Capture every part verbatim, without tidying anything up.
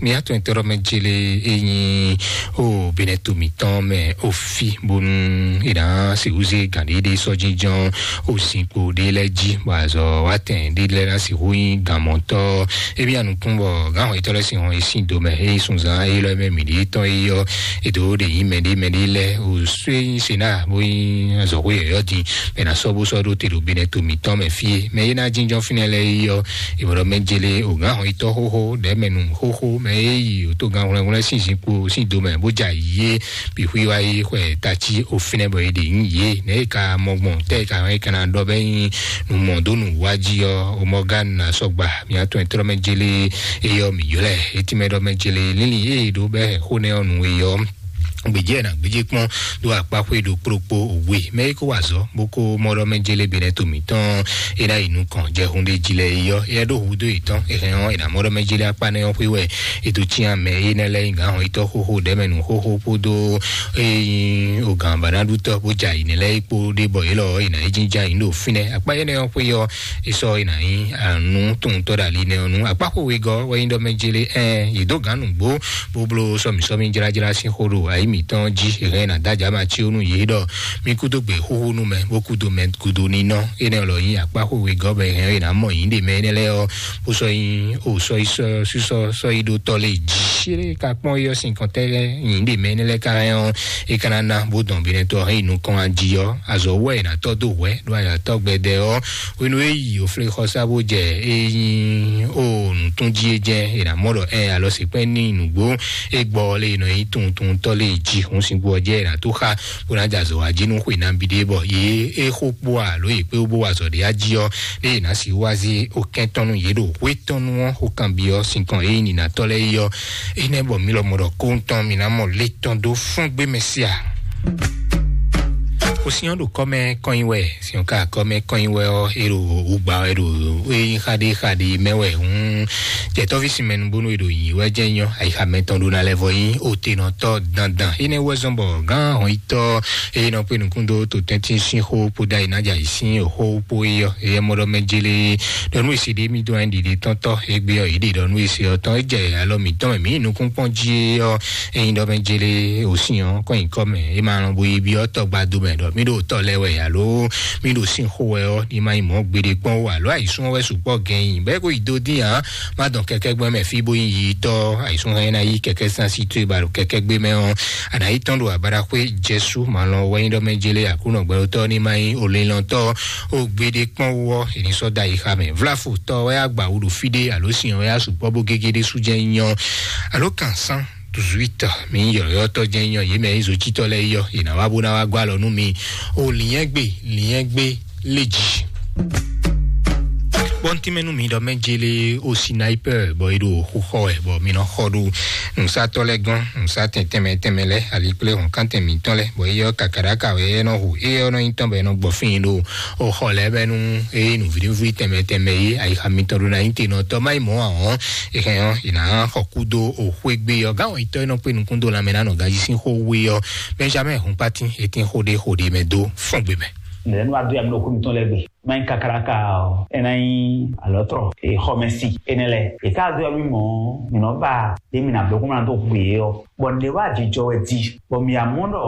Mía tɔn tɔrɔ mɛ jele enyi o benɛ to mǐtɔn mɛ o fi bónú ìdá sèwúzé gàdédé sɔjínjɔn o zinkpo ɖé lɛ́ jí bɔ azɔ wátɛn ɖé lɛ́ ná sixú nyí gǎnmɔtɔ́. Ebi anukún bɔ gǎnhɔn yětɔn lɛ́ sin hɔn yě sín do mɛ eye sunzan eye lɔ mɛ mǐ ɖé tɔn eye yɔ edo ɖe yí mɛ ɖé mɛ ɖé lɛ o sue nyi sena bó nyi azɔxó yɔyɔ din mɛ na sɔ bó sɔ ɖó te ɖo benɛ to mǐtɔn mɛ fie mɛ ye na jínjɔn fínɛ lɛ yi yɔ ìmọ̀ràn mɛ jele o gǎnhɔn yítɔ́ xóxó ɖɛmɛnu xóxó mɛ ye yi o tó gǎnhwlɛ́nhwlɛ́n sín zinkpo sín do mɛ bó ja yé bixwí wá yi xwɛ tatsi o fínɛ bɔ ye ɖe nyi yé nɛ ye ka mɔ gbɔn tɛ ka hɔn ye kana ɖɔ bɛ nyi nu mɔ dó nu wá jí yɔ o mɔ gán na sɔgba mía tɔn trɔ mɛ jele eyɔ mi yɔ lɛ etí mɛ ɖɔ mɛ jele lílì eye ɖo bɛ xó nɛ ɔ nu eyɔ gbèjì ẹ̀ nà gbèjì kpɔ́n ɖó akpáxwé ɖo kplokpó òwe mɛ é kó wà zɔ bó kó mɔɖɔ mɛ jele benɛ to mǐtɔn é ná yi nukɔn jɛ hun ɖé jí lɛ yɔ é ɖó hu dó yětɔn é hɛn ɔ́ é nà mɔɖɔ mɛ jele akpá nɛ ɔ́ xwé wɛ é dó cyán mɛ é nɛ lɛ́ nyí gǎn hɔn yítɔ́ xóxó ɖɛmɛ nǔ xóxó kpódó é nyí ogǎn bànádútɔ́ bó ja yi nɛ lɛ́ é kpó ɖé bɔ é lɔ é nà é jínjá yi ɖo fínɛ́ akpá énɛ́ ɔ́ xwé yɔ é sɔ́ é nà nyí anú tuntɔ́ ɖo ali nɛ ɔ́ nú akpá xó wegɔ́ wɛ nyí ɖɔ mɛ jele ɛn yě dó gǎn nǔgbó bó bló sɔmǐsɔmí jlájlá sín xó ɖo ayǐ mǐtɔn jí hɛn ná dájà ma cí ó nú yě ɖɔ mí kúdó gbè xúxú nú mɛ bó kúdó mɛ gúdo nínɔ énɛ́ lɔ nyí akpá xó wegɔ́ bɔ hɛn é ná mɔ yǐ ɖe mɛ énɛ́ lɛ́ɛ ɔ́ bó sɔ́ nyí ó sɔ́ yi sɔ́ sísɔ́ sɔ́ yi ɖó tɔ́ lé jí é ka kpɔ́n yɔ sín kɔntɛ́ yǐ ɖe mɛ énɛ́ lɛ́ɛ ka hɛn ɔ́ é ka ná ná bó dɔn binɛ tɔ́ hɛn yi nukɔn ají ɔ́ azɔ̌ wɛ è nǎ tɔ́ dó hwɛ̌ ɖó ayǎtɔ́ gbɛdɛ ɔ́ hwenu e yi oflexɔsá bó jɛ é nyí ó nǔtún jí é jɛ è nǎ mɔ ɖɔ ɛ alɔ sèkpɛ́ ní nǔgbó é gbɔ lé nɔ nyí tuntuntɔ́ lé jí hun síngbó ɔ́ jẹ́ è nǎ tó xa bó ná jɛ azɔ̌ wá jí nú xwe nabí ɖé bɔ yě é xó kpó alo yě kpé bó wa azɔ̌ ɖé ají ɔ́ lé è nǎ si wá zé okɛ́ntɔ́nú yě ɖo hwétɔ́nú ɔ́ xó kanbyɔ́ sinkɔn é nyí nǐnatɔ́ lɛ́ɛ é ɔ́ énɛ́ bɔ mí lɔmɔ ɖɔ kóńtɔn mí ná mɔ létɔn dó fún gbé mɛ síá. Kò sí ɔ́ ɖo kɔ́mɛ kɔnyi wɛ, sí ɔ́ ka kɔ́mɛ kɔnyi wɛ ɔ́, é ɖo wǔgbà wɛ ɖo é nyí xaɖé xaɖé mɛ wɛ hǔn. Jɛtɔ́ví sinmɛnu bónú é ɖo yǐ wɛ jẹ́ nyɔ́, ayixa mɛtɔn ɖo ná lɛ́ vɔ nyí òtenɔtɔ́ dandan. Énɛ́ wɛ zɔ́n bɔ gán hɔnyitɔ́ é nɔ kpé nukún dó to tɛ́ntin sín xó kpódó ayi ná jɛ ayǐ sín òxó kpó é ɔ́, é mɔ ɖɔ mɛ jélé ɖɔ nú èsì ɖé mí dó anyi ɖiɖe tɔ́ntɔ́, é gbé ɔ́, yě ɖe ɖɔ nú èsì ɔ́ tɔn, é jɛ alɔ mǐtɔn mɛ mǐ nukún kpɔ́n jí é ɔ́, Ényí ɖɔ mɛ jele òsín ɔ́ kɔn nyǐkɔ mɛ é ma lɔn bo yi byɔ́ tɔgbado mɛ ɖɔ mí ɖo tɔ lɛ wɛ alo mí ɖo sín xó wɛ ɔ́ ní ma nyí mɔ̌ gbeɖé kpɔ́n ó alo ayǐsún ɔ́ wɛ sukpɔ́ gɛn nyi bɛ́ kó yi dó dín ǎ. Má dɔn kɛkɛ́gbɛ́ mɛ fí bó nyí yi tɔ́ ayǐsún hɛn ná yí kɛkɛ́ sín así towe ba ɖo kɛkɛ́gbé mɛ ɔ́. Àná yí tɔ́n ɖo abáɖaxwé jɛsú malɔn wɛ nyí ɖɔ mɛ jele àkúnɔ gbɛɖotɔ́ ní ma nyí olélɔntɔ́ ó gbeɖé kpɔ́n wú ɔ́ è ní sɔ́ da yi xa mɛ vláfo tɔ́ wɛ agba wú ɖo fí ɖé alo sin wɛ asukpɔ́ bó gégé ɖé sú jẹ́ nyɔ alo kan sán dix-huit mi yɔyɔtɔ jɛ nyɔ yé mɛ zotitɔ lɛ yɔ yina wa bo na wa gba lɔ nu mi o liɛn gbe liɛn gbe le dzi. Bɔntimɛnu mi dɔ mɛ jele o sniper bɔ e ɖo xo xɔ wɛ bɔ mi nɔ xɔ ɖo nusatɔ lɛ gɔn nusa tɛn tɛmɛ tɛmɛ lɛ ali kple hɔn kan tɛn mitɔn lɛ bɔ e yɔ kakaraka wɛ e nɔ hu e yɔ nɔ nyi tɔn bɛ nɔ gbɔ fin ɖo o xɔ lɛ bɛ nu e nu viɖivui tɛmɛ tɛmɛ ye ayixa mitɔn ɖo na nyi te nɔ tɔ ma yi mɔ ahɔn. Ehɛn ɔ́, yě ná xɔ kú dó òxwé gbé ɔ́. Gán wɛ̀nyítɔ́ e nɔ kpé nukún dó lanmɛ ná nɔ ganjí sín xó wé ɔ́, Benjamin Hunpatin, e tín xó ɖé xó ɖé mɛ dó fɔ́n gbe mɛ. Nɛ̌ nɔ wá dó ya mì ɖo xó mitɔn lɛ́ɛ gbe? Má nyí kakáláka ɔ́, é ná nyí alɔ̌trɔ, e xɔmɛsi énɛ́ lɛ́ɛ. È ká dó ya mì mɔ̌, mǐ nɔ ba ɖé mì nǎ bló kó má ná dó hu yě ɔ́. Bɔ nǔɖé wá jijɔ wɛ di, bɔ mǐ amɔ ɖɔ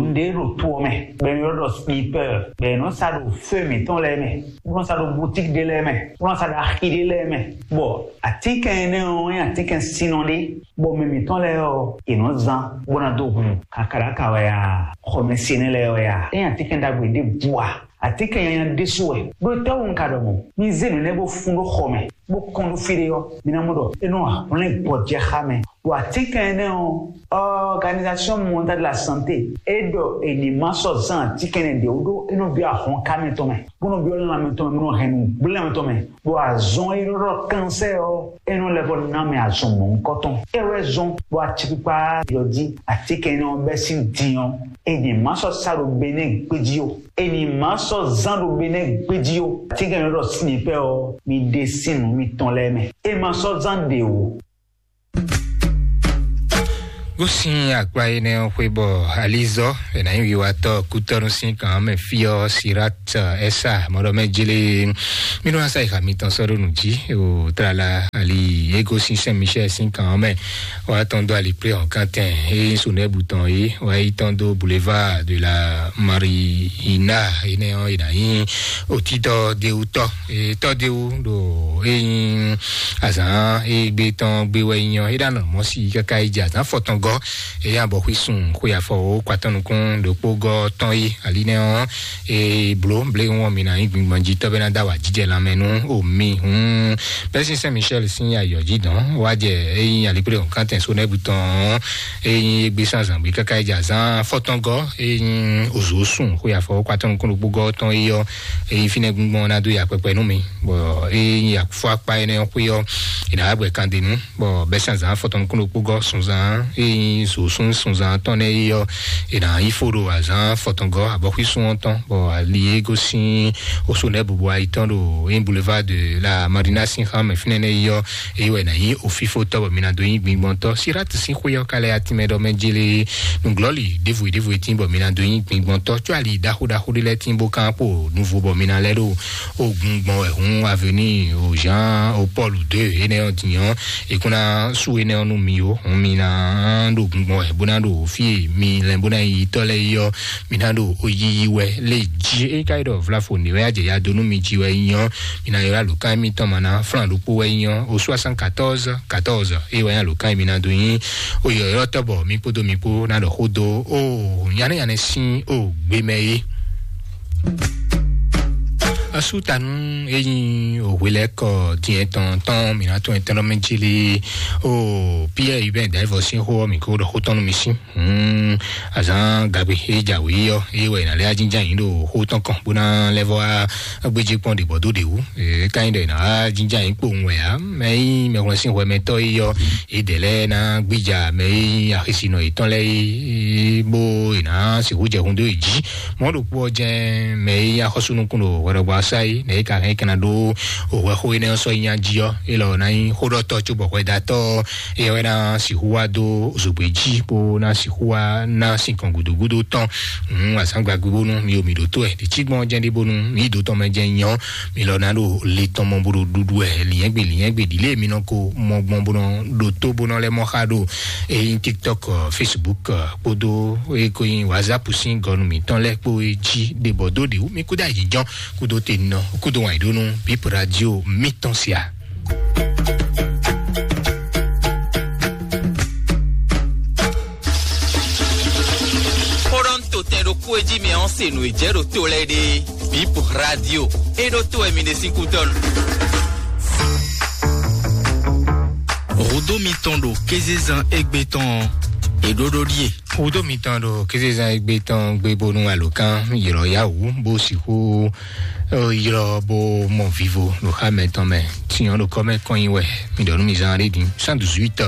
nǔɖé ɖo to ɔ́ mɛ, bɔ è nɔ ɖɔ sniper, bɔ è nɔ sa ɖo feu mǐtɔn lɛ́ɛ mɛ, bó nɔ sa ɖo boutique ɖé lɛ́ɛ mɛ, bó nɔ sa ɖo axi ɖé lɛ́ɛ mɛ. Bɔ atínkɛn énɛ́ ɔ́ nyí atínkɛn sinnɔ ɖé, bɔ mɛ mǐtɔn lɛ́ɛ ɔ́, è nɔ zán bó ná dó hu kakáɖaka wɛ a, xɔmɛsinɛ lɛ́ɛ wɛ a, é nyí atínkɛn ɖagbe ɖěbǔ a, atínkɛn nyanya ɖésú wɛ. Ɖó tɛ́wú un ka ɖɔ mɔ̌? Mi zé nǔ énɛ́ bó fún ɖó xɔ mɛ, bó kɔn ɖó fí ɖé ɔ́, mi ná mɔ ɖɔ é nɔ hwlɛ́n gbɔjɛxá mɛ. Ɖo atínkɛn énɛ́ ɔ́, Organisation Mondiale de la Santé é ɖɔ è ní ma sɔ́ zán atínkɛn énɛ́ ɖě wú ɖó é nɔ byɔ́ ahɔnká mɛtɔn mɛ, bó nɔ byɔ́ lanmɛ tɔn mɛ, bó nɔ hɛn nǔgblɛ́nmɛ tɔn mɛ. Ɖo azɔn e ɖɔ kansɛ́ ɔ́, é nɔ lɛ́ vɔ ná mɛ azɔn mɔ̌hunkɔtɔn. É wɛ zɔn bɔ acikpikpa yɔ jí atínkɛn énɛ́ ɔ́ bɛ́ sín din ɔ́, è ní ma sɔ́ sa ɖo Benɛ́ɛ gbéjí ó. È ní ma sɔ́ zán ɖo Benɛ́ɛ gbéjí ó. Atínkɛn énɛ́ ɖɔ sniper ɔ́, mi ɖe sín nǔ mitɔn lɛ́ɛ mɛ. É ma sɔ́ zán ɖě ó. Gosín akpa énɛ́ ɔ́ xwé bɔ alizɔ ɛnɛ wiwatɔ kútɔnu sín kan mɛ fí ɔ́ sirat ɛsa mɔɖɔmɛ jele mínú asa ixa mitɔn sɔɖo nù jí o tlala ali Ego sín Saint Michel sín kan ɔ́ mɛ, wá tɔn dó ali plé hɔn kántɛn, é nyí Sonɛbu tɔn é, wá yi tɔn dó Boulevard de la Marina, énɛ́ ɔ́, é ná nyí òtítọ́ déwútɔ́, é tɔ́ déwú ɖo é nyí azǎn é gbé tɔn gbé wɛ nyí ɔ́, é ɖo anɔ mɔ̌ sí káká é jɛ azǎn fɔtɔngɔ́, é nyí abɔxwí sun xwe afɔ wǒ kwatɔ́ nukún ɖokpó gɔ́ tɔn é, ali nɛ́ ɔ́, e bló blé ŋɔ mi ná nyí gbingban jí tɔ́ bɛ́ ná dá wà jíjɛ lanmɛ nú omi. Hun bɛ́ sín Saint Michel sín ayɔ jí dɔn wá jɛ, e nyí alipré hɔn kántɛn Sonɛbu tɔn, e nyí égbé sán zǎngbé káká é jɛ azán fɔtɔngɔ, e nyí ozo sùn xwe afɔ kwatɔn kún ɖokpó gɔ tɔn é yɔ, e nyí fínɛ́ gbíngbɔn ná dó ya kpɛkpɛ nú mi, bɔ e nyí afɔ akpa énɛ́ xwe ɔ́, e ná wá gbɛ kan denu. Bɔ bɛ́ sín azǎn fɔtɔn nukún ɖokpó gɔ́ sunzán, e nyí zǒsún sunzán tɔn nɛ́ é yɔ, è nǎ yí fó ɖo azǎn fɔtɔngɔ́ abɔxwísún ɔ́ tɔn, bɔ ali e gosín oso nɛ́ bubu ayi tɔn ɖo é Boulevard de la Marina sín xá mɛ fínɛ́ nɛ́ é yɔ, é wɛ ná nyí ofífótɔ́, bɔ mi ná dó nyí gbingbɔntɔ́. Sirat sín xwé ɔ́ ka lɛ atinmɛ ɖɔ mɛ jélé nǔglɔ́lì ɖěvo ɖěvo e tín bɔ mi ná dó nyí gbingbɔntɔ́, có ali ɖaxó ɖaxó ɖé lɛ́ɛ tín bó kán kpo nuvo bɔ mi ná lɛ́ ɖo ogun gbɔn wɛ hun avenue o Jean o Paul deux énɛ́ ɔ́ din ɔ́, è kún ná sú énɛ́ ɔ́ nú mi ó. Hun mi ná ɖo gun gbɔn wɛ bó ná ɖo fí e mi lɛn bó ná yi tɔ́ lɛ́ɛ yi ɔ́, mi ná ɖo yiyi wɛ lé jí. É ka yi ɖɔ vlafo ní wɛ ajɛ ya dó nú mi jí wɛ nyí ɔ́, mi ná ylɔ́ alǒkan émítɔn ma ná flán ɖokpó wɛ nyí ɔ́, o soixante-quatorze quatorze é wɛ nyí alǒkan e mi ná dó nyí. O yɔ̌yɔ́tɔ́ bɔ mi kpódó mi kpó ná ɖɔ xó dó o nyanɛ́ nyanɛ́ sín o gbé mɛ é. Asútanu e nyí òhwelɛ́kɔ dín tɔn tɔn mǐ ná tún ɛtɛ́nɔmɛ jí lé o Pierre Hubert Dayivɔ sín xó ɔ́, mǐ kó ɖɔ xó tɔn nú mi sín. Hmm, azán gagbe e jǎwe ɔ́, é wɛ è nǎ lɛ́ ajínjá yǐ ɖo xó tɔn kɔn bó ná lɛ́ vɔ wá gbéjé kpɔ́n ɖě bɔ dó ɖě wú. É ka nyí ɖɔ è nǎ wá jínjá yǐ kpowun wɛ ǎ. Mɛ e nyí mɛhwlɛ́nsínhwɛmɛtɔ́ é ɔ́, é dɛ̌ lɛ́ɛ ná gbíja mɛ e nyí axisinɔ yětɔn lɛ́ɛ é, bó è nǎ sixú jɛ hun dó yě jí. Mɔ̌ ɖokpó ɔ́ jɛ́n mɛ e nyí axɔ́súnukún ɖo hwɛɖɔgbɔ asá é, nɛ̌ é ka hɛn é ka ná ɖó hwɛxó énɛ́ ɔ́ sɔ́ nyí jí ɔ́, é lɔ ná nyí xóɖɔtɔ́ cóbɔ hwɛdatɔ́ ɔ́, é wɛ ná sixú wá dó zogbe jí bó ná sixú wá ná sinkɔn gǔdógúdó tɔn. Hǔn azǎn gbagbe bónú mi o mi ɖǒtó ɛ ɖě cí gbɔn jɛ́n ɖé bónú mi yi dǒ tɔn mɛ jɛ́n nyɔ mi lɔ ná ɖo le tɔn mɔ bó ɖo ɖuɖu ɛ lǐnyɛ́gbe lǐnyɛ́gbe ɖi lě mi nɔ ko mɔ gbɔn bó nɔ ɖo tó bó nɔ lɛ́ mɔ xá ɖo eyín TikTok, ɔ, Facebook, ɔ, kpódó eko nyi WhatsApp sín gɔnu mǐtɔn lɛ́ɛ kpó é jí ɖe bɔ dó ɖě wú mi kúdó ayǐjɔ́n kúdó te nɔ kúdó wàn yǐ ɖó nú Bip Radio mítɔn sia. Xó ɖɔ ń to tɛn ɖokpó e jí mɛ ɔ́ se nǔ e jɛ ɖo to lɛ́ɛ ɖe. Bip Radio. E ɖo to wɛ mi ɖe sín kútɔ́ nu. Hudó mitɔn ɖo kézezán égbé tɔn ɔ́, è ɖó ɖó ɖíe. Hudó mitɔn ɖo kézezán égbé tɔn gbé bónú alǒkan ylɔ́ yá wǔ bó sixú ylɔ́ bó mɔ vivo ɖo xá mɛtɔn mɛ. Tiɲɔ ɖo kɔ́ mɛ kɔn nyi wɛ mi ɖɔ nú mi zán ɖé din cent dix-huit.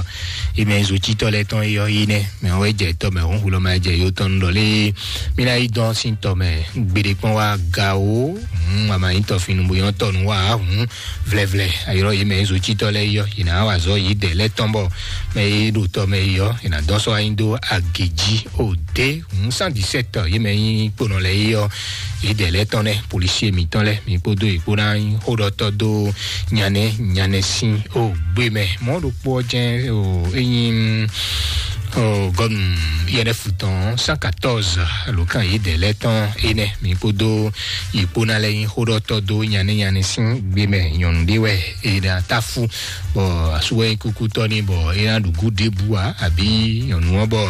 Yi mɛ zotítɔ lɛ́ɛ tɔn yɔ yi nɛ mɛ wɛ jɛ tɔ mɛ honhu lɔ ma jɛ yo tɔn ɖɔ lé. Mi ná yi dɔn sín tɔ mɛ gbeɖe kpɔn wá ga o. Hǔn ama nyí tɔ finu bó nyɔ tɔ nu wá hǔn vlɛvlɛ. Ayɔrɔ yi mɛ zotítɔ lɛ́ɛ yɔ yi ná wá zɔ yi dɛ lɛ́ tɔn bɔ mɛ yi ɖo tɔ mɛ yɔ yi ná dɔn sɔ anyi dó agě jí o dé. Hǔn cent dix-sept yi mɛ nyí kponɔ lɛ́ɛ yɔ yi dɛ lɛ́ tɔn nɛ policier mitɔn lɛ́ɛ mi kpódó yi kpó ná nyí xóɖɔtɔ dó nyanɛ nyanɛ sín o gbé mɛ mɔ ɖokpó ɔ́ jɛn o enyi o gɔnu I N F tɔn cent quatorze alo kan yi dɛ lɛ́ tɔn enɛ mi kpódó yi kpó ná lɛ́ nyí xóɖɔtɔ dó nyanɛ nyanɛ sín gbé mɛ nyɔnu ɖé wɛ e ɖa táfú bɔ asú wɛ nyí kúkútɔ́ ní bɔ é ná ɖu gǔ ɖěbǔ ǎ àbí nyɔnu ɔ́ bɔ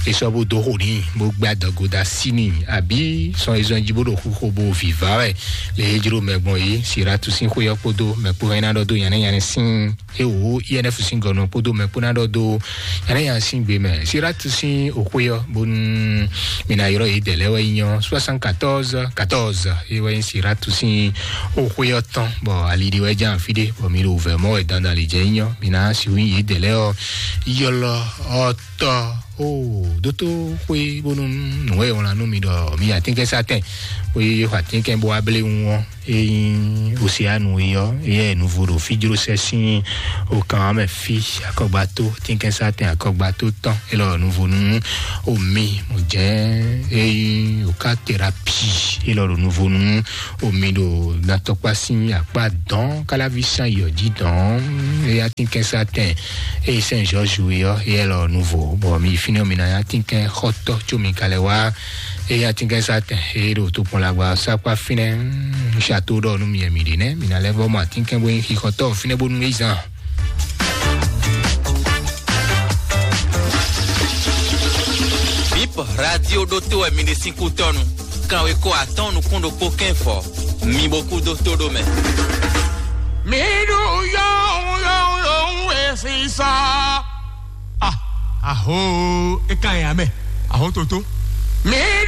é sɔ́ bó dó xo n'i bó gbé adɔgo dó así n'i àbí sɔn é zɔn jí bó ɖo xixo bó viva wɛ le é jló mɛ gbɔn é Siratu sín xwé ɔ́ kpódó mɛ kpó hɛn ná ɖɔ dó nyanɛ nyanɛ sín é wò I N F sín gɔnɔ kpódó mɛ kpó ná ɖɔ dó nyanɛ nyanɛ sín gbé mɛ Siratu sín òxwé ɔ́ bónú mi ná yrɔ yě dɛ lɛ́ wɛ nyí ɔ́ soixante-quatorze quatorze é wɛ nyí Siratu sín òxwé ɔ́ tɔn bɔ ali ɖi wɛ ján fí ɖé bɔ mi ɖo vɛ mɔ wɛ dandan lě jɛ nyí ɔ́ mi ná si wí yě dɛ lɛ́ ɔ́ ylɔ ɔ́ tɔ O dótó xwé bónú nǔ e wlán nú mi ɖɔ mi atínkɛnsátɛn xwé xɔ atínkɛn bó wá blé ŋu ɔ́, é nyí oseánu é ɔ́, éyɛ́ nuvo ɖo fíjlósɛ sín okan ɔ́ mɛ fí. Akɔgbató, tínkɛnsátɛn akɔgbató tɔn é lɔ nuvo nú omi mɔ jɛ́n é nyí oká terapi é lɔ ɖo nuvo nú omi ɖo natɔkpá sín akpá dɔn káláví sán yɔ jí dɔn. Éyá tínkɛnsátɛn eye sɛn jɔju ɔ́, eyɛ lɔ nuvo bɔ mi fínɛ mi na ya tínkɛn xɔtɔ tso mi kalɛ wá. Eyá tínkɛnsátɛn eye ɖo tokpɔn lagba sakpa fínɛ. Sato ɖɔ nu mi mi ɖi nɛ mi na lɛ vɔ mɔ atínkɛn bó xixɔtɔ fínɛ bó nu ezan. Bip radio ɖótó wɛ mi ɖe sín kú tɔnu. Kanwe ko atɔn nukún ɖokpó kɛn fɔ. Mi bo kú dó tó ɖó mɛ. Mi ɖu yɔn yɔn yɔn esisa. Ah, aho, e kan ya mɛ. Aho toto. Mi